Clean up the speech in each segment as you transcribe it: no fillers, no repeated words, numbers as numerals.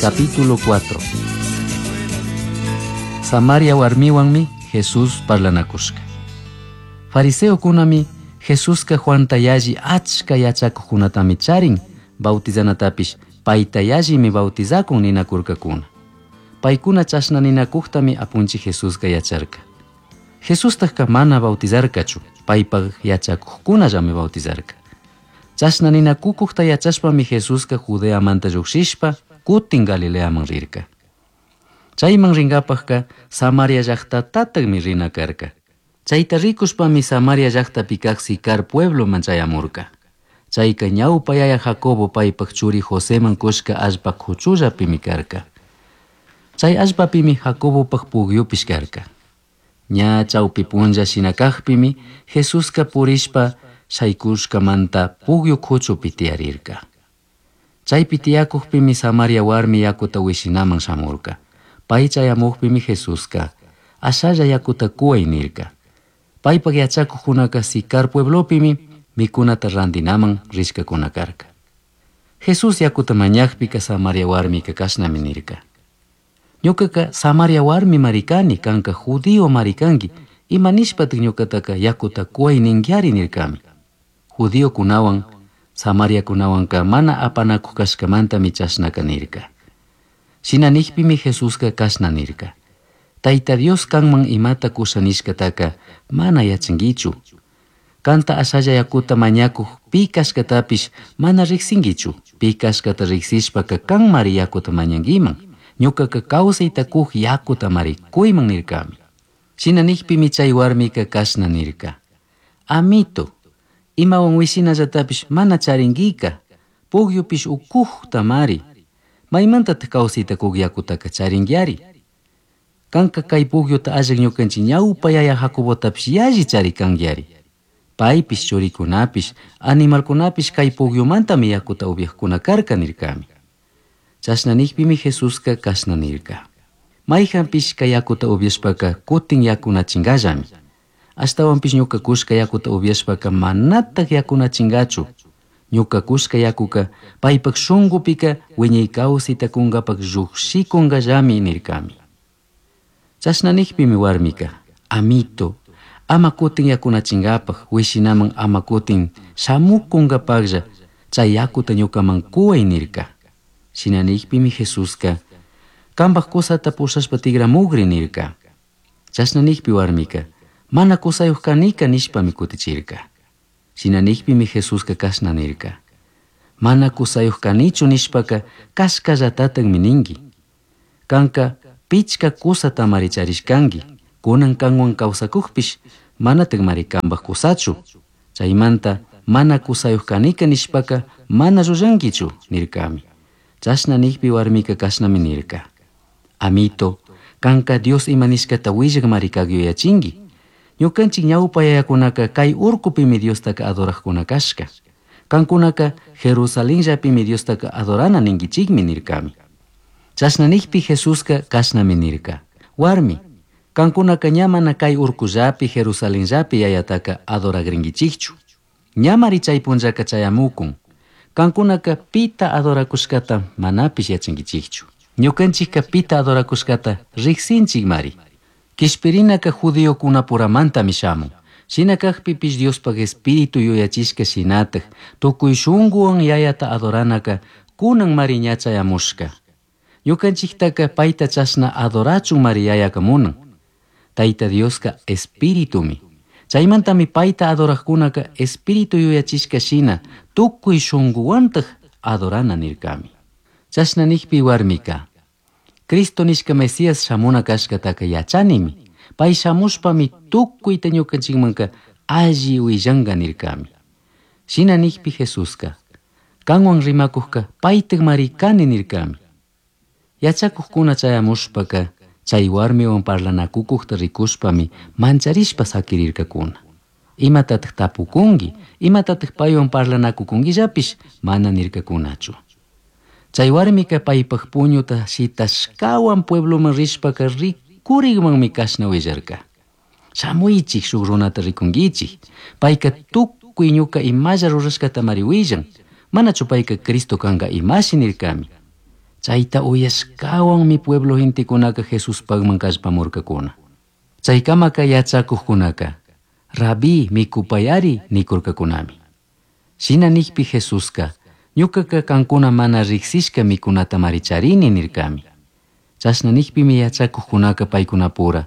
Capítulo 4. Samaria warmiwanmi Jesús parlanakushka. Fariseokunami Jesuska Juanta yalli achka yachakuqkunatami charin, bautizanatapish payta yallimi bautizakun ninakurkakuna. Paykuna chashna ninakuqtami apunchik Jesuska yacharka. Jesustajka mana bautizarkachu, paypaq yachakuqkunallami bautizarka. Chashna ninakukuqta yachashpami Jesuska Judeamanta lluqshishpa kutin Galileaman rirka. Chayman rinkapaqka Samaria llaqtatataqmi rina karka. Chayta rikushpami Samaria llaqtapi kaq Sicar puebloman chayamurka. Chayka ñawpa yaya Jacobo paypaq churi Joseman kushka allpa kuchullapimi karka. Chay allpapimi Jacobopaq pukyupish karka. Ña chawpi punlla shina kaqpimi Jesuska purishpa shaykushkamanta pukyu kuchupi tiyarirka. Chaypi tiyakuqpimi Samaria warmi yakuta wishinaman shamurka. Pay chayamuqpimi Jesuska ashalla yakuta kuway nirka. Paypaq yachakuqkunaka Sicar pueblopimi mikunata rantinaman rishkakuna karka. Jesús yakuta mañaqpika Samaria warmika kashnami nirka. Ñuqaqa Samaria warmi mari kani, kanka judío mari kanki, ima nishpataq ñuqataka yakuta kuway ninkiari nirkami. Judiokunawan Samariakunawanka mana apanakuq kashkamantami chashnaka nirka. Shina nijpimi Jesuska kashna nirka. Tayta Dios kanman imata kusha nishkataka mana yachankichu. Kanta ashalla yakuta mañakuq pi kashkatapish mana riqsinkichu. Pi kashkata riqsishpaka kanmari yakuta mañankiman. Ñuqaka kawsayta kuq yakutamari kuyman nirkami. Shina nijpimi chay warmika kashna nirka. Amito, imawan wishinallatapish mana charinkika, pukyupish ukuqtamari. Maymantataq kawsayta kuq yakutaka charinkiari? Kanka kay pukyuta allaq ñukanchik ñawpa yaya Jacobotapish yalli charikankiari. Paypish churikunapish animalkunapish kay pukyumantami yakuta upyaqkuna karka nirkami. Chashna nijpimi Jesuska kashna nirka. Mayjanpish kay yakuta upyashpaka kutin yakunachingallami. Ashtawanpish ñuka kushka yakuta upyashpaka manataq yakunachingachu. Ñuka kushka yakuka paypaq shunqupika wiñay kawsayta kunkapak lluqshikunkallami nirkami. Chashna nijpimi warmika, amito, ama kutin yakunachinkapak, wishinaman ama kutin shamukunkapaqlla chay yakuta ñukaman kuway nirka. Shina nijpimi Jesuska, kanpaq kusata pushashpa tikramukri nirka. Chashna nijpi warmika, mana kusayuq kanika nishpami kutichirka. Shina nijpimi Jesuska kashna nirka. Mana kusayuq kanichu nishpaka kashkallatataqmi ninki. Kanka pichka kusatamari charishkanki, kunan kanwan kawsakuqpish manataqmari kanpaq kusachu. Chaymanta mana kusayuq kanika nishpaka mana llullankichu nirkami. Chashna nijpi warmika kashnami nirka. Amito, kanka Dios ima nishkata willakmari kaq yuyachinki. Ñukanchik ñawpa yayakunaka kay urkupimi Diostaka adoraqkuna kashka. Kankunaka Jerusalenllapimi Diostaka adorana ninkichikmi nirkami. Chashna nijpi Jesuska kashnami nirka. Warmi, kankunaka ña mana kay urkullapi Jerusalenllapi yayataka adoragrinkichikchu. Ñamari chay punllaka chayamukun. Kankunaka pita adorakushkata manapish yachankichikchu. Ñukanchikka pita adorakushkata riqsinchikmari. Kishpirinaka judiokunapuramantami shamun. Shina kaqpipish Diospaq espíritu yuyachishka shinataq tukuy shunquwan yayata adoranaka kunan mari ña chayamushka. Ñukanchiktaka payta chashna adorachun mari yayaka munan. Tayta Dioska espiritumi. Chaymantami payta adoraqkunaka espíritu yuyachishka shina tukuy shunquwantaq adorana nirkami. Chashna nijpi warmika, Cristo nishka Mesías shamuna kashkataka yachanimi. Pay shamushpami tukuyta ñukanchikmanka alli willanka nirkami. Shina nijpi Jesuska, kanwan rimakuqka paytaqmari kani nirkami. Yachakuqkuna chayamushpaka chay warmiwan parlanakukuqta rikushpami mancharishpa sakirirkakuna. Imatataq tapukunki, imatataq paywan parlanakukunkillapish mana nirkakunachu. Chay warmika paypaq puñuta shitashkawan puebloman rishpaka rikurikmanmi kashna willarka. Shamuychik shuk runata rikunkichik. Payka tukuy ñuka imalla rurashkatamari willan. Manachu payka Cristo kanka imashi nirkami. Chayta uyashkawanmi pueblo gentekunaka Jesuspagman kallpamurkakuna. Chaykamaka yachakuqkunaka Rabí mikupayari nikurkakunami. Shina nikpi Jesuska ñukaka kankuna mana riksishka mikunatamari charini nirkami. Chashna nikpimi yachakuqkunaka paykunapura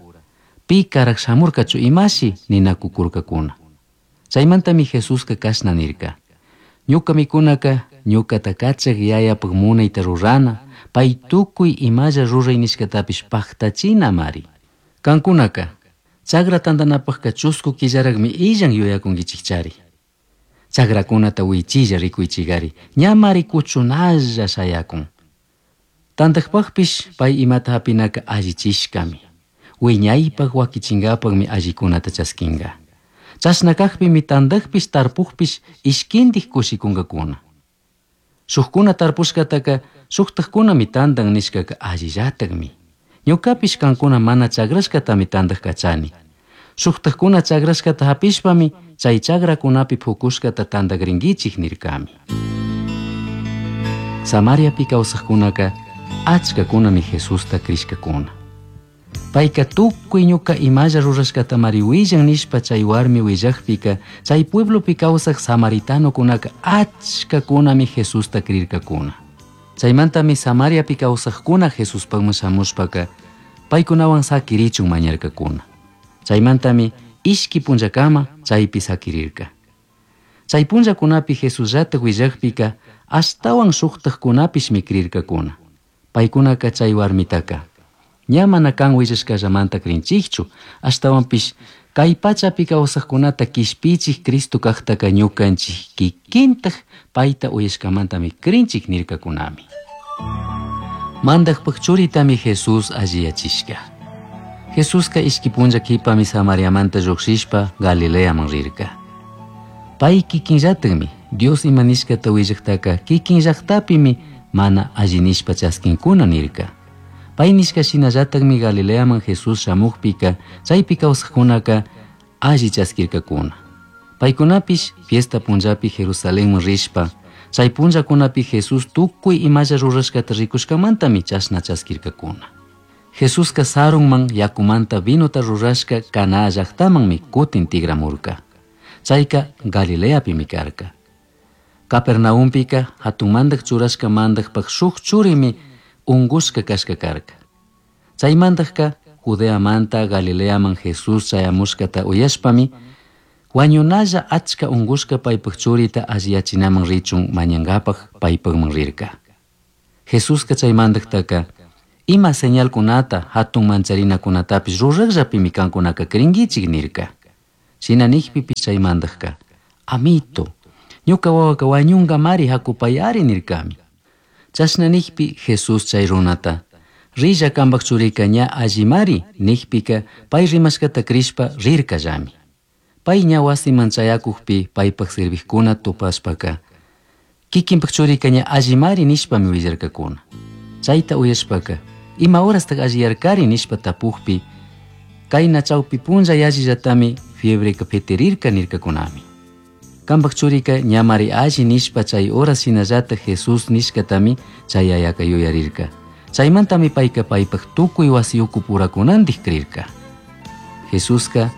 pi karak shamurkachu imashi ninakukurkakuna. Chaymantami Jesuska kashna nirka. Ñuka mikunaka ñukata kachak yayapaq munayta rurana, pay tukuy imalla ruray nishkatapish paktachinamari. Kankunaka chagra tantanapaqka chusku killarakmi illan yuyakunkichikchari. Chagrakunata wichilla rikuychikari, ñamari kuchunalla shayakun. Tantaqpaqpish pay imata hapinaka allichishkami. Wiñaypaq wakichinkapaqmi allikunata chaskinka. Chashna kaqpimi tantaqpish tarpukpish ishkindik kushikunkakuna. Shukkuna tarpushkataka shuktakkunami tantan nishkaka allillatakmi. Ñukapish kankuna mana chagrashkatami tantaq kachani. Shuktakkuna chagrashkata hapishpami chay chagrakunapi pukushkata tantakrinkichik nirkami. Samariapi kawsaqkunaka achkakunami Jesusta krishkakuna. Payka tukuy ñuka imalla rurashkatamari willan nishpa chay warmi willakpika chay pueblopi kawsaq samaritanokunaka achkakunami Jesusta krirkakuna. Chaymantami Samariapi kawsaqkuna Jesuspaqman shamushpaka paykunawan sakirichun mañarkakuna. Chaymantami ishki punllakama chaypi sakirirka. Chay punllakunapi Jesusllata willakpika ashtawan shuqtaqkunapishmi krirkakuna. Paykunaka chay warmitaka ña mana kan willashkallamanta krinchikchu, ashtawanpish kay pachapi kawsaqkunata kishpichik Cristo kaqtaka ñukanchik kikintaq payta uyashkamantami krinchik nirkakunami. Mandaqpaq churitami Jesús alliyachishka. Jesuska ishki punlla kipami Samariamanta lluqshishpa Galileaman rirka. Pay kikinllatakmi Dios ima nishkata willaqtaka kikinllaqtapimi mana alli nishpa chaskinkuna nirka. Pay nishka shinallatakmi Galileaman Jesús shamukpika chaypi kawsaqkunaka alli chaskirkakuna. Paykunapish fiesta punllapi Jerusalenman rishpa chay punllakunapi Jesús tukuy imalla rurashkata rikushkamantami chashna chaskirkakuna. Jesuska sarunman yakumanta vinota rurashka Caná llaqtamanmi kutin tigramurka. Chayka Galileapimi karka. Capernaúmpika hatun mandaq churashka mandaqpaq shuk churimi ungushka kashka karka. Chaymantaqka Judeamanta Galileaman Jesús chayamushkata uyashpami wañunalla achka ungushka paypaq churita alliyachinaman richun mañankapaq paypaqman rirka. Jesuska chay mandaqtaka ima señalkunata hatun mancharinakunatapish ruraqllapimi kankunaka krinkichik nirka. Shina nikpipish chay mandaqka amito, ñuka wawaka wañunkamari hakupayari nirkami. Chashna nikpi Jesús chay runata rilla kanpak churika ña allimari nikpika pay rimashkata krishpa rirkallami. Pay ña wasiman chayakukpi paypak serviqkuna tupashpaka kikinpak churika ña allimari nishpami willarkakuna. Chayta uyashpaka ima horastaq alliyarkari nishpa tapukpi kayna chawpi punlla yallillatami fiebreka pitirirka nirkakunami. Kanpak churika ñamari alli nishpa chay horas shinallata Jesús nishkatami chay yayaka yuyarirka. Chaymantami payka paypak tukuy wasi ukupurakunantik krirka. Jesuska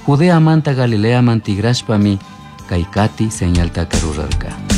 Judeamanta Galileaman tigrashpami kay kati señaltaka rurarka.